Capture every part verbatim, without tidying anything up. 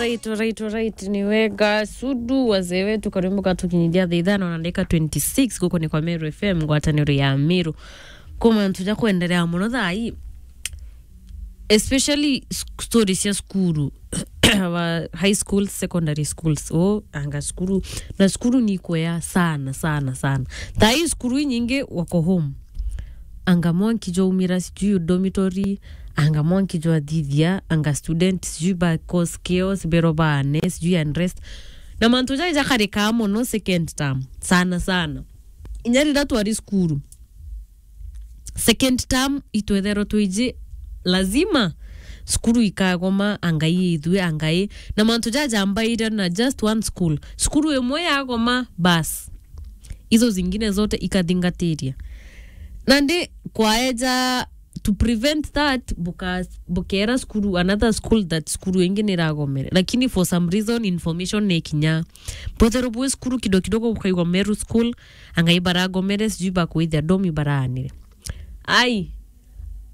Right, right, right. Ni wega Sudu, wazee wetu, karimbo katukinyithia thaa ithano na ndagika twenty-six, guku ni kwa Meru F M, ngwataniro ya Meru. Ku mantu ja kwenderea muno thaa ii, especially s-, stories cia cukuru. Our high schools, secondary schools. Oh, anga cukuru. Na cukuru ni ikwea sana, sana, sana. Thaa ii cukuru inyingi wako home. Anga mwanki jwaumira sijui dormitory, anga mwanki jwathithia, anga student sijui ba cause chaos, bero baane, sijui unrest. Na mantu jai jakarikaa mono second term, sana, sana. Inya riria twari cukuru, second term itwetherwa twiji lazima cukuru ikagoma, angai ithui, angai. Na mantu jajambaire na just one school. Cukuru imwe yagoma, bas. Izo zingine zote ikathingatiria. Nandi kwaeja to prevent that, buka-, bukera cukuru, another school that cukuru ingi niragomere. Lakini for some reason, information ni kinya. Bwethero bwi cukuru kidogo kidogo bukaigwa Meru school, angai baragomere, sijui bakwithia domi baraanire. Ai,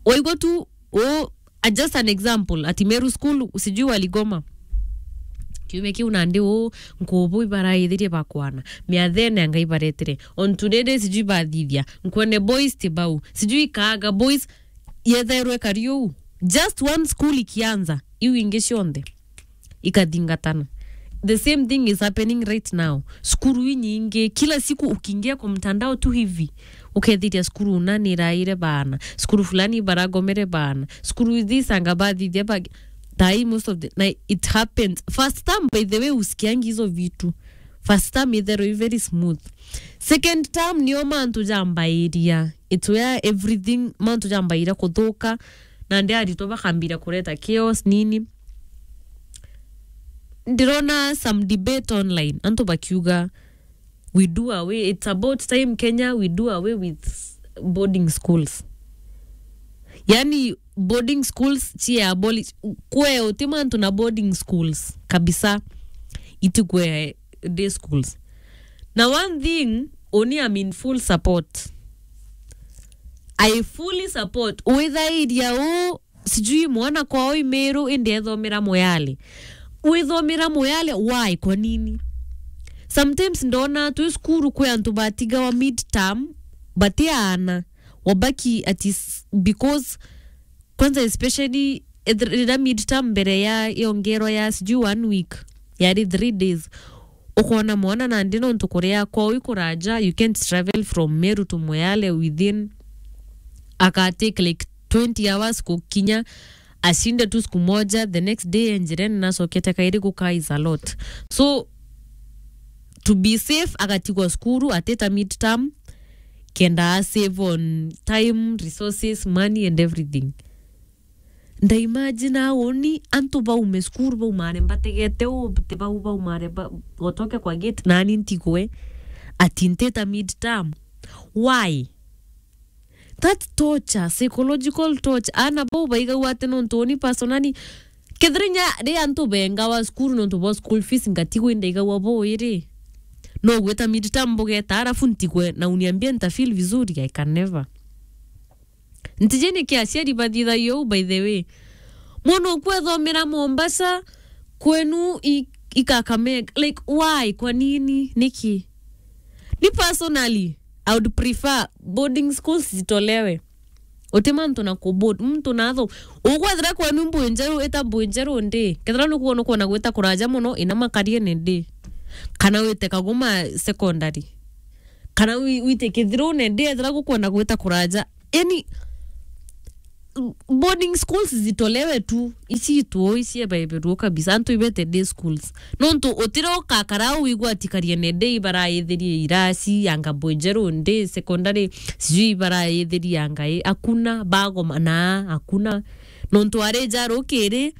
waigua tu, oh, a, just an example, ati Meru school, sijui waligoma. Kiumia kiu nandi uu, nkubu ibaraithirie bakwana. Miathene anga ibaretire. On today day sijui bathithia. Nkwene boys ti bau. Sijui kaaga boys yethairwe kari uu. Just one school ikianza. Iu ingi cionthe ikathingatana. The same thing is happening right now. Cukuru inyingi, kila siku ukiingia kwa mtandao tu hivi, ukethiria cukuru una niraire baana, cukuru fulani baragomere baana, cukuru this anga bathithia ba-, tai most of the, na it happens. First time, by the way, usikiangi hizo vitu. First time itherwa i very smooth. Second time nio mantu jambairia. It's where everything, mantu jambairia kuthuka, na ndi aritwa bakambira kureta chaos nini. Ndirona some debate online, antu bakiuga, "We do away, it's about time Kenya, we do away with boarding schools." Yani, boarding schools cie abolish, kwe uti mantu na boarding schools kabisa, itikwe day schools. Na one thing, uni I'm in full support. I fully support. Withairia u, sijui mwana kwao i Meru, indi ethomera Moyale. Withomera Moyale, why? Kwa nini? Sometimes ndona twi cukuru kwi antu batigawa midterm, batiaana, wabaki ati s-, because, kwanza especially eth-, riria midterm mbere ya yongerwa ya sijui one week, yari three days, ukona mwana nandi nontu kuria kwao i kuraja, you can't travel from Meru to Moyale within, akatake like twenty hours kukinya, ashinde tu siku moja, the next day enjirene nacokete kairi guka is a lot. So, to be safe, agatigwa cukuru, atita midterm, kenda a save on time, resources, money and everything. Ndaimagine auni antu baume cukuru, baumare mbategete uu, ti bau baumare ba-, gotoke kwa gate, nani ntigwe ati ntita midterm. Why? That's torture, psychological torture. Ana bau baigagua ati nontu uni personally, kethira inya ri antu bengawa cukuru nontu bwa school fees, ngatigwa indaigagua buu iri. No gwita midterm bugeta, alafu ntigwe na uniambie nita feel vizuri, I can never. Ntiji niki aciari bathithagia uu, by the way. Mwana oku ethomera Mombasa, kwenu i, i Kakamega. Like, why? Kwa nini? Niki? Ni personally, I would prefer boarding schools zitolewe. Uti mantu na ku board, muntu natho. Ukwethira kwenu Mbuinjeru, ita Mbuinjeru ndi. Kethira nukuona ukwona gwita kuraja mono, ina Makariene ndi. Kana wite Kagoma secondary. Kana wi-, wite Kithirune ndi, ethira gukwona gwita kuraja. Yani, boarding schools zitolewe tu, icitwo, iciebaeberwo kabisa, antu ibete day schools. Nontu utira ukakara au wigwa ati Kariene day baraithirie irasi, anga Mbuinjeru day, secondary, sijui baraithirie anga i, hakuna, bagoma na, hakuna. Nontu arija rukiri,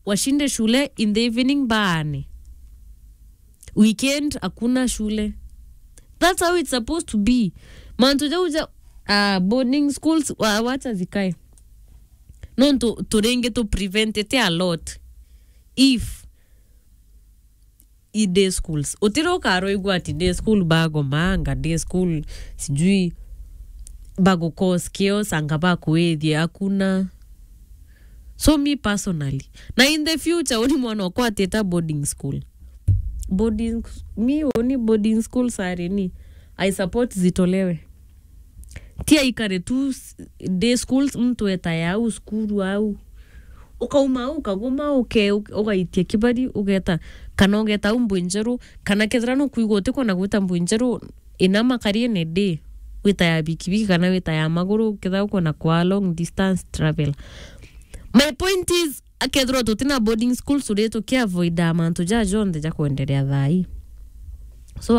washinde shule, in the evening baane. Weekend hakuna shule. That's how it's supposed to be. Mantu jau ja, ah, boarding schools, wa-, wacha zikae. Nontu turingi tu prevent it a lot if i day schools. Utira ukaroigua ati day school bagoma, anga day school sijui bagu cause chaos, anga bakwithia, hakuna. So me personally, na in the future, uni mwana okwa atita boarding school. Boarding, me uni boarding school sare ni, I support zitolewe. Ti aikare tu s-, day school, mtu eta ya au, skuru au. Ukauma au, ukaguma, uke-, ugaitia kibari, ugeta, kana ugeta au Mbwinjeru, kana kethira nukwigua utikwona gwita Mbwinjeru, ina makariene day, wita ya bikibiki kana wita ya maguru, kethira ukwona kwa long distance travel. My point is, akethirwa tutina boarding school, turi tukiavoida mantu ja jonthe ja kwenderea thaa ii. So,